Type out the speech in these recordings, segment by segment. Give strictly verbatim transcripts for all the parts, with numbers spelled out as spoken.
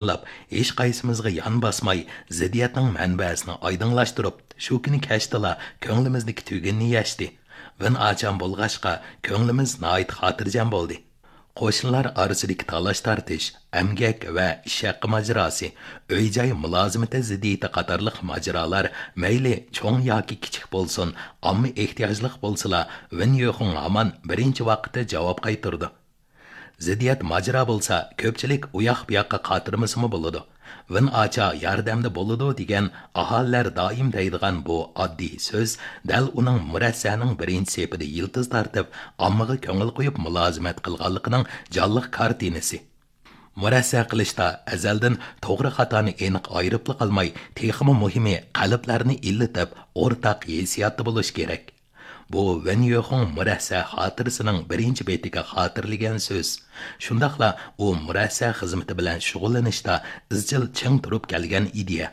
تاللاپ، ھېچقايسىمىزغا يان باسماي، زىددىيەتنىڭ مەنبەسىنى ئايدىڭلاشتۇرۇپ، شۇ كۈنى كەچتىلا كۆڭلىمىزدىكى تۈگۈننى يەشتى. ۋېن ئاچام بولغاچقا، كۆڭلىمىز ناھايىتى خاتىرجەم بولدى. قوشنىلار ئارىسىدىكى تالاش-تارتىش، ئەمگەك ۋە ئىش ھەققى ماجىراسى، ئۆي-جاي مۇلازىمىتى زىددىيىتى قاتارلىق ماجىرالار مەيلى چوڭ ياكى كىچىك بولسۇن، ئامما ئېھتىياجلىق بولسىلا، ۋېن يۆخۇڭ ھامان بىرىنچى ۋاقىتتا جاۋاب قايتۇرىدۇ. زىددىيەت ماجىرا بولسا، كۆپچىلىك ئۇياق-بۇياققا قاترىمىسىمۇ بولىدۇ. ۋېن ئاچا ياردەمدە بولىدۇ دېگەن ئاھالىلەر دائىم دەيدىغان بۇ ئاددىي سۆز دەل ئۇنىڭ مۇرەسسەنىڭ بىرىنچى سېپىدە يىلتىز تارتىپ، ئاممىغا كۆڭۈل قويۇپ مۇلازىمەت قىلغانلىقىنىڭ جانلىق كارتىنىسى. مۇرەسسە قىلىشتا ئەزەلدىن توغرا خاتانى ئېنىق ئايرىپلا قالماي، تېخىمۇ مۇھىمى قەلبلەرنى ئىللىتىپ، ئورتاق ھېسسىياتتا بولۇش كېرەك. بۇ ۋېن يۆخۇڭ مۇرەسسە خاتىرىسىنىڭ بىرىنچى بېتىگە خاتىرىلىگەن سۆز. شۇنداقلا ئۇ مۇرەسسە خىزمىتى بىلەن شۇغۇللىنىشتا ئىزچىل چىڭ تۇرۇپ كەلگەن ئىدىيە.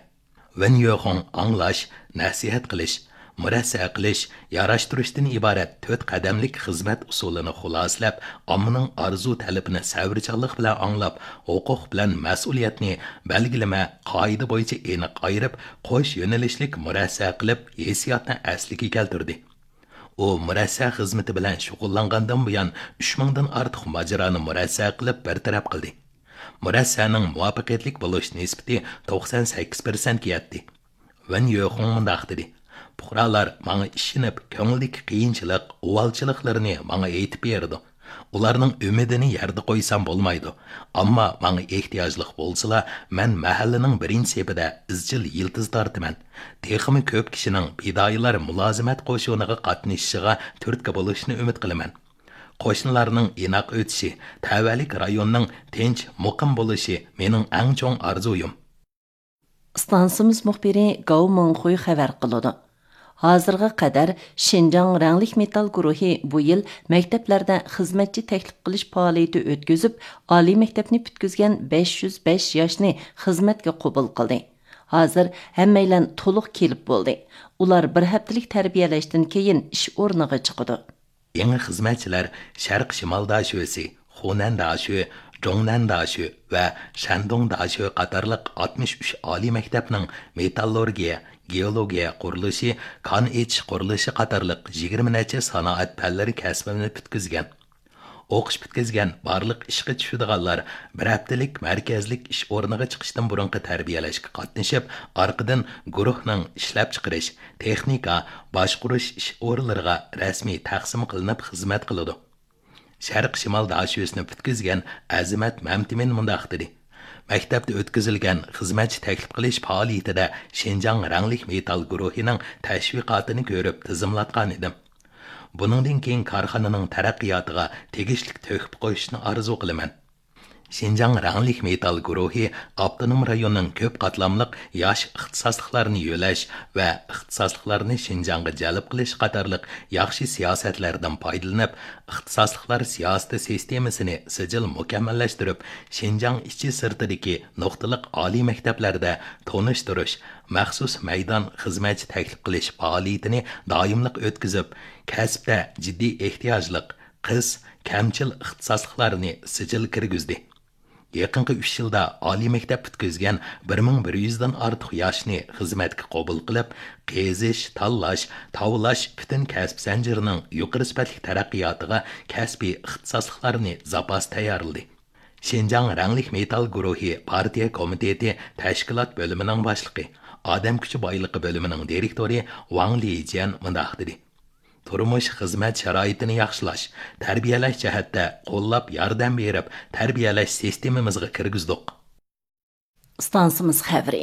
ۋېن يۆخۇڭ ئاڭلاش، نەسىھەت قىلىش، مۇرەسسە قىلىش، ياراشتۇرۇشتىن ئىبارەت تۆت قەدەملىك خىزمەت ئۇسۇلىنى خۇلاسىلەپ، ئاممىنىڭ ئارزۇ-تەلىپىنى سەۋرچانلىق بىلەن ئاڭلاپ، ھوقۇق بىلەن مەسئۇلىيەتنى بەلگىلىمە، قائىدە بويىچە ئېنىق ئايرىپ، قوش يۆنىلىشلىك مۇرەسسە قىلىپ، ھېسسىياتنى ئەسلىگە كەلتۈردى. ئۇ مۇرەسسە خىزمىتى بىلەن شۇغۇللانغاندىن بۇيان، ئۈچ مىڭدىن ئارتۇق ماجىرانى مۇرەسسە قىلىپ بىر تەرەپ قىلدى. مۇرەسسەنىڭ مۇۋەپپەقىيەتلىك بولۇش نىسبىتى توقسان سەككىز پىرسەنتكە يەتتى. ۋېن يۆخۇڭ مۇنداق دېدى: پۇقرالار ماڭا ئىشىنىپ، كۆڭلىدىكى قىيىنچىلىق، ئۇۋالچىلىقلىرىنى ماڭا ئېيتىپ بېرىدۇ. ئۇلارنىڭ ئۈمىدىنى يەردە قويسام بولمايدۇ. ئەمما ماڭا ئېھتىياجلىق بولسىلا، مەن مەھەللىنىڭ بىرىنچى سېپىدە ئىزچىل يىلتىز تارتىمەن. تېخىمۇ كۆپ كىشىنىڭ پىدائىيلار مۇلازىمەت قوشۇنىغا قاتنىشىشىغا تۈرتكە بولۇشىنى ئۈمىد قىلىمەن. قوشنىلارنىڭ ئىناق ئۆتۈشى، تەۋەلىك رايوننىڭ تىنچ، مۇقىم بولۇشى مېنىڭ ئەڭ چوڭ ئارزۇيۇم. ئىستانسىمىز مۇخبىرى گاۋ مىڭخۇي خەۋەر قىلىدۇ. ھازىرغا قەدەر شىنجاڭ رەڭلىك مېتال گۇرۇھى بۇ يىل مەكتەپلەردە خىزمەتچى تەكلىپ قىلىش پائالىيىتى ئۆتكۈزۈپ، ئالىي مەكتەپنى پۈتكۈزگەن بەش يۈز بەش ياشنى خىزمەتكە قوبۇل قىلدى. ھازىر ھەممەيلەن تولۇق كېلىپ بولدى. ئۇلار بىر ھەپتىلىك تەربىيەلەشتىن كېيىن ئىش ئورنىغا چىقىدۇ. يېڭى خىزمەتچىلەر شەرق شىمال داشۆسى، خۇنەن داشۆ، جۇڭنەن داشۆ ۋە شەندۇڭ داشۆ قاتارلىق ئاتمىش ئۈچ ئالىي مەكتەپنىڭ مېتاللورگىيە، گېئولوگىيە قۇرۇلۇشى، كان ئېچىش قۇرۇلۇشى قاتارلىق يىگىرمە نەچچە سانائەت پەنلىرى كەسپىنى پۈتكۈزگەن. ئوقۇش پۈتكۈزگەن بارلىق ئىشقا چۈشىدىغانلار بىر ھەپتىلىك مەركەزلىك ئىش ئورنىغا چىقىشتىن بۇرۇنقى تەربىيەلەشكە قاتنىشىپ، ئارقىدىن گۇرۇھنىڭ ئىشلەپچىقىرىش، تېخنىكا، باشقۇرۇش ئىش ئورۇنلىرىغا رەسمىي تەقسىم قىلىنىپ خىزمەت قىلىدۇ. شەرق شىمال داشۆسىنى پۈتكۈزگەن ئەزىمەت مەمتىمىن مۇنداق دېدى: مەكتەپتە ئۆتكۈزۈلگەن خىزمەتچى تەكلىپ قىلىش پائالىيىتىدە شىنجاڭ رەڭلىك مېتال گۇرۇھىنىڭ تەشۋىقاتىنى كۆرۈپ تىزىملاتقان ئىدىم. بۇنىڭدىن كېيىن كارخانىنىڭ تەرەققىياتىغا تېگىشلىك تۆھپە قوشۇشنى ئارزۇ قىلىمەن. شىنجاڭ رەڭلىك مېتال گۇرۇھى ئاپتونوم رايوننىڭ كۆپ قاتلاملىق ياش ئىختىساسلىقلارنى يۆلەش ۋە ئىختىساسلىقلارنى شىنجاڭغا جەلپ قىلىش قاتارلىق ياخشى سىياسەتلەردىن پايدىلىنىپ، ئىختىساسلىقلار سىياسىتى سىستېمىسىنى سىجىل مۇكەممەللەشتۈرۈپ، شىنجاڭ ئىچى سىرتىدىكى نۇقتىلىق ئالىي مەكتەپلەردە تونۇشتۇرۇش، مەخسۇس مەيدان خىزمەتچى تەكلىپ قىلىش پائالىيىتىنى دائىملىق ئۆتكۈزۈپ، كەسىپتە جىددىي ئېھتىياجلىق، قىس، كەمچىل ئىختىساسلىقلارنى سىجىل كىرگۈزدى. يېقىنقى ئۈچ يىلدا ئالىي مەكتەپ پۈتكۈزگەن بىر مىڭ بىر يۈزدىن ئارتۇق ياشنى خىزمەتكە قوبۇل قىلىپ، قېزىش، تاللاش، تاۋلاش پۈتۈن كەسىپ زەنجىرىنىڭ يۇقىرى سۈپەتلىك تەرەققىياتىغا كەسپىي ئىختىساسلىقلارنى زاپاس تەييارلىدى. شىنجاڭ رەڭلىك مېتال گۇرۇھى پارتىيە كومىتېتى تەشكىلات بۆلۈمىنىڭ باشلىقى، ئادەم كۈچى بايلىقى بۆلۈمىنىڭ دىرېكتورى ۋاڭ لىجيەن مۇنداق دېدى: تۇرمۇش، خىزمەت شارائىتىنى ياخشىلاش، تەربىيەلەش جەھەتتە قوللاپ ياردەم بېرىپ، تەربىيەلەش سىستېمىمىزغا كىرگۈزدۇق. ئىستانسىمىز خەۋىرى.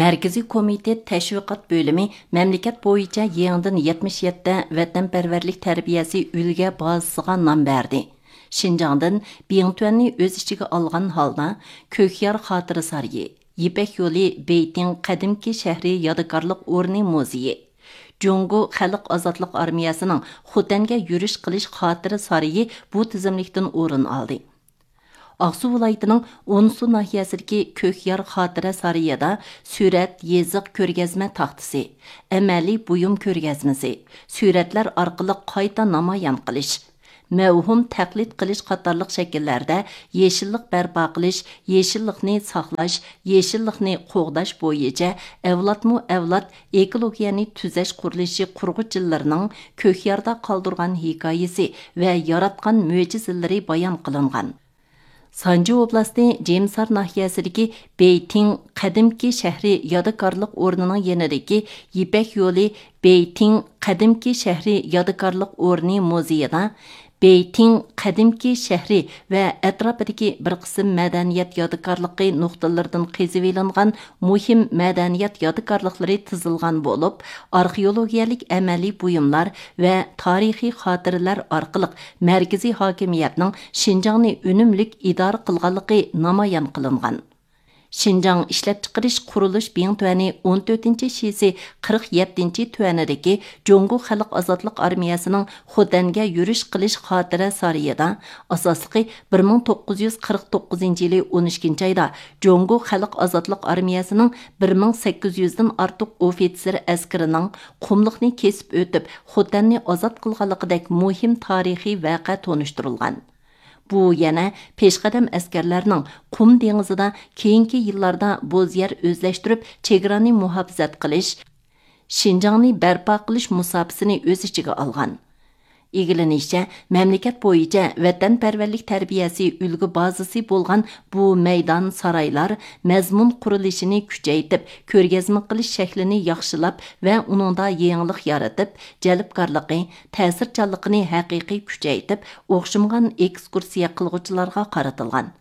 مەركىزىي كومىتېت تەشۋىقات بۆلۈمى مەملىكەت بويىچە يېڭىدىن يەتمىش يەتتە ۋەتەنپەرۋەرلىك تەربىيەسى ئۈلگە بازىسىغا نام بەردى. شىنجاڭدىن بىڭتۈەننى ئۆز ئىچىگە ئالغان ھالدا، كۆكيار خاتىرە سارىيى، يىپەك يولى بېيتىڭ قەدىمكى شەھىرى يادىكارلىق ئورنى مۇزېيى، جۇڭگو خەلق ئازادلىق ئارمىيەسىنىڭ خوتەنگە يۈرۈش قىلىش خاتىرە سارىيى بۇ تىزىملىكتىن ئورۇن ئالدى. ئاقسۇ ۋىلايىتىنىڭ ئونسۇ ناھىيەسىدىكى كۆكيار خاتىرە سارىيىدا سۈرەت، يېزىق، كۆرگەزمە تاختىسى، ئەمەلىي بۇيۇم كۆرگەزمىسى، سۈرەتلەر ئارقىلىق قايتا نامايان قىلىش، مەۋھۇم تەقلىد قىلىش قاتارلىق شەكىللەردە يېشىللىق بەرپا قىلىش، يېشىللىقنى ساقلاش، يېشىللىقنى قوغداش بويىچە ئەۋلادمۇ ئەۋلاد ئېكولوگىيەنى تۈزەش قۇرۇلۇشى قۇرغۇچىلىرىنىڭ كۆكياردا قالدۇرغان ھېكايىسى ۋە ياراتقان مۆجىزىلىرى بايان قىلىنغان. سانجى ئوبلاستى جېمسار ناھىيەسىدىكى بېيتىڭ قەدىمكى شەھىرى يادىكارلىق ئورنىنىڭ يېنىدىكى يىپەك يولى بېيتىڭ قەدىمكى شەھىرى يادىكارلىق ئورنى مۇزېيىدا بېيتىڭ قەدىمكى شەھىرى ۋە ئەتراپىدىكى بىر قىسىم مەدەنىيەت يادىكارلىقى نۇقتىلىرىدىن قېزىۋېلىنغان مۇھىم مەدەنىيەت يادىكارلىقلىرى تىزىلغان بولۇپ، ئارخېئولوگىيەلىك ئەمەلىي بۇيۇملار ۋە تارىخىي خاتىرىلەر ئارقىلىق مەركىزىي ھاكىمىيەتنىڭ شىنجاڭنى ئۈنۈملۈك ئىدارە قىلغانلىقى نامايان قىلىنغان. شىنجاڭ ئىشلەپچىقىرىش قۇرۇلۇش بىڭتۈەنى ئون تۆتىنچى شىسى قىرىق يەتتىنچى تۈەنىدىكى جۇڭگو خەلق ئازادلىق ئارمىيەسىنىڭ خوتەنگە يۈرۈش قىلىش خاتىرە سارىيىدا، ئاساسلىقى بىر مىڭ توققۇز يۈز قىرىق توققۇزىنچى يىلى ئون ئىككىنچى ئايدا جۇڭگو خەلق ئازادلىق ئارمىيەسىنىڭ بىر مىڭ سەككىز يۈزدىن ئارتۇق ئوفىتسېر ئەسكىرىنىڭ قۇملۇقنى كېسىپ ئۆتۈپ، خوتەننى ئازاد قىلغانلىقىدەك مۇھىم تارىخىي ۋەقە تونۇشتۇرۇلغان. بۇ يەنە پېشقەدەم ئەسكەرلەرنىڭ قۇم دېڭىزىدا كېيىنكى يىللاردا بوز يەر ئۆزلەشتۈرۈپ، چېگرانى مۇھاپىزەت قىلىش، شىنجاڭنى بەرپا قىلىش مۇساپىسىنى ئۆز ئىچىگە ئالغان. ئىگىلىنىشىچە، مەملىكەت بويىچە ۋەتەنپەرۋەرلىك تەربىيەسى ئۈلگە بازىسى بولغان بۇ مەيدان سارايلار مەزمۇن قۇرۇلۇشىنى كۈچەيتىپ، كۆرگەزمە قىلىش شەكلىنى ياخشىلاپ ۋە ئۇنىڭدا يېڭىلىق يارىتىپ، جەلپكارلىقى، تەسىرچانلىقىنى ھەقىقىي كۈچەيتىپ، ئوخشىمىغان ئېكسكۇرسىيە قىلغۇچىلارغا قارىتىلغان.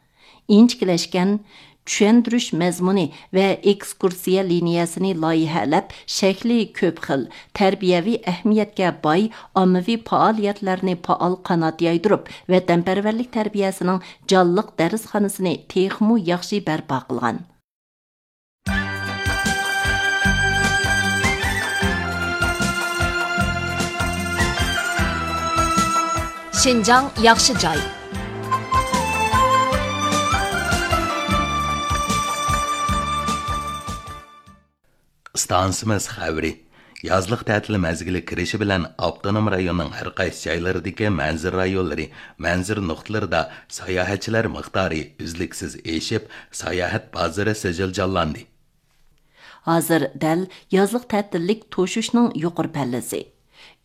ئىنچىكىلەشكەن، چۈشەندۈرۈش مەزمۇنى ۋە ئېكسكۇرسىيە لىنىيەسىنى لايىھەلەپ، شەكلى كۆپ خىل، تەربىيەۋى ئەھمىيەتكە باي ئاممىۋى پائالىيەتلەرنى پائال قانات يايدۇرۇپ، ۋەتەنپەرۋەرلىك تەربىيەسىنىڭ جانلىق دەرسخانىسىنى تېخىمۇ ياخشى بەرپا قىلغان. شىنجاڭ ياخشى جاي. ئىستانسىمىز خەۋىرى. يازلىق تەتىل مەزگىلى كىرىشى بىلەن ئاپتونوم رايوننىڭ ھەر قايسى جايلىرىدىكى مەنزىرە رايونلىرى، مەنزىرە نۇقتىلىرىدا ساياھەتچىلەر مىقدارى ئۈزلۈكسىز ئېشىپ، ساياھەت بازىرى سىجىل جانلاندى. ھازىر دەل يازلىق تەتىللىك توشۇشنىڭ يۇقىرى پەللىسى.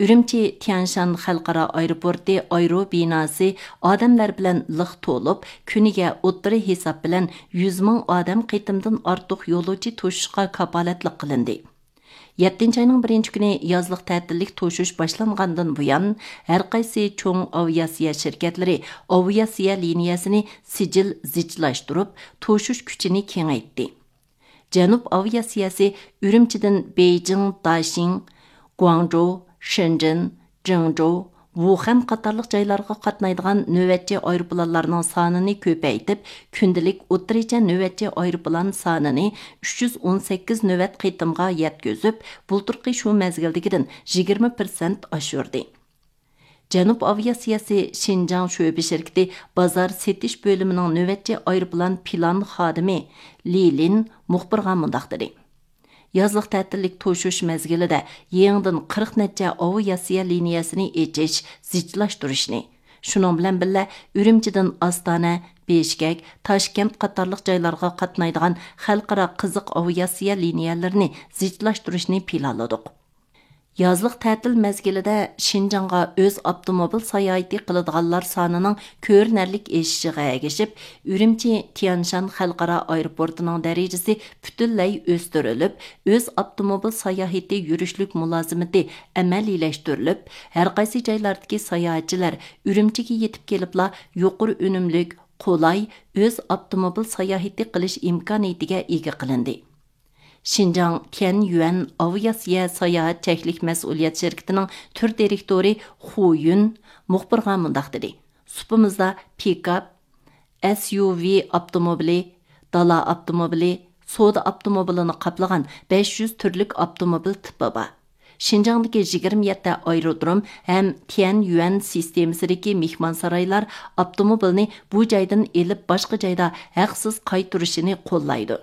ئۈرۈمچى تيەنشان خەلقئارا ئايروپورتى ئايرو بىناسى ئادەملەر بىلەن لىق تولۇپ، كۈنىگە ئوتتۇرا ھېساب بىلەن يۈز مىڭ ئادەم قېتىمدىن ئارتۇق يولۇچى توشۇشقا كاپالەتلىك قىلىندى. يەتتىنچى ئاينىڭ بىرىنچى كۈنى يازلىق تەتىللىك توشۇش باشلانغاندىن بۇيان، ھەر قايسى چوڭ ئاۋىئاتسىيە شىركەتلىرى ئاۋىئاتسىيە لىنىيەسىنى سىجىل زىچلاشتۇرۇپ، توشۇش كۈچىنى كېڭەيتتى. جەنۇب ئاۋىئاتسىيەسى ئۈرۈمچىدىن بېيجىڭ، داشىڭ، گۇاڭجۇ، شېنجېن، جېڭجۇ، ۋۇخەن قاتارلىق جايلارغا قاتنايدىغان نۆۋەتچى ئايروپىلانلارنىڭ سانىنى كۆپەيتىپ، كۈندىلىك ئوتتۇرىچە نۆۋەتچى ئايروپىلان سانىنى ئۈچ يۈز ئون سەككىز نۆۋەت قېتىمغا يەتكۈزۈپ، بۇلتۇرقى شۇ مەزگىلدىكىدىن يىگىرمە پىرسەنت ئاشۇردى. جەنۇب ئاۋىئاتسىيەسى شىنجاڭ شۆبە شىركىتى بازار سېتىش بۆلۈمىنىڭ نۆۋەتچى ئايروپىلان پىلان خادىمى لى لىن مۇخبىرغا مۇنداق دېدى: يازلىق تەتىللىك توشۇش مەزگىلىدە يېڭىدىن قىرىق نەچچە ئاۋىئاتسىيە لىنىيەسىنى ئېچىش، زىچلاشتۇرۇشنى، شۇنىڭ بىلەن بىللە، ئۈرۈمچىدىن ئاستانە، بېشكەك، تاشكەنت قاتارلىق جايلارغا قاتنايدىغان خەلقئارا قىزىق ئاۋىئاتسىيە لىنىيەلىرىنى زىچلاشتۇرۇشنى پىلانلىدۇق. يازلىق تەتىل مەزگىلىدە شىنجاڭغا ئۆز ئاپتوموبىل ساياھىتى قىلىدىغانلار سانىنىڭ كۆرۈنەرلىك ئېشىشىغا ئەگىشىپ، ئۈرۈمچى تيەنشان خەلقئارا ئايروپورتىنىڭ دەرىجىسى پۈتۈنلەي ئۆستۈرۈلۈپ، ئۆز ئاپتوموبىل ساياھىتى يۈرۈشلۈك مۇلازىمىتى ئەمەلىيلەشتۈرۈلۈپ، ھەرقايسى جايلاردىكى ساياھەتچىلەر ئۈرۈمچىگە يېتىپ كېلىپلا يۇقىرى ئۈنۈملۈك، قولاي، ئۆز ئاپتوموبىل ساياھىتى قىلىش ئىمكانىيىتىگە ئىگە قىلىندى. شىنجاڭ تيەنيۈەن ئاۋىئاتسىيە ساياھەت چەكلىك مەسئۇلىيەت شىركىتىنىڭ تۈر دىرېكتورى خۇ يۈن مۇخبىرغا مۇنداق دېدى: سۇپىمىزدا پىكاپ، ئەس يۇ ۋى ئاپتوموبىلى، دالا ئاپتوموبىلى، سودا ئاپتوموبىلىنى قاپلىغان بەش يۈز تۈرلۈك ئاپتوموبىل تىپى بار. شىنجاڭدىكى يىگىرمە يەتتە ئايرودروم ھەم تيەنيۈەن سىستېمىسىدىكى مېھمانسارايلار ئاپتوموبىلنى بۇ جايدىن ئېلىپ، باشقا جايدا ھەقسىز قايتۇرۇشىنى قوللايدۇ.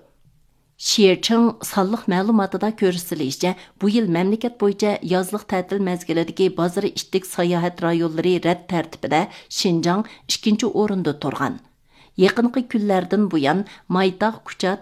شيېچىڭ سانلىق مەلۇماتىدا كۆرسىتىلىشىچە، بۇ يىل مەملىكەت بويىچە يازلىق تەتىل مەزگىلىدىكى بازىرى ئىتتىك ساياھەت رايونلىرى رەت تەرتىپىدە شىنجاڭ ئىككىنچى ئورۇندا تۇرغان. يېقىنقى كۈنلەردىن بۇيان، مايتاغ كۇچا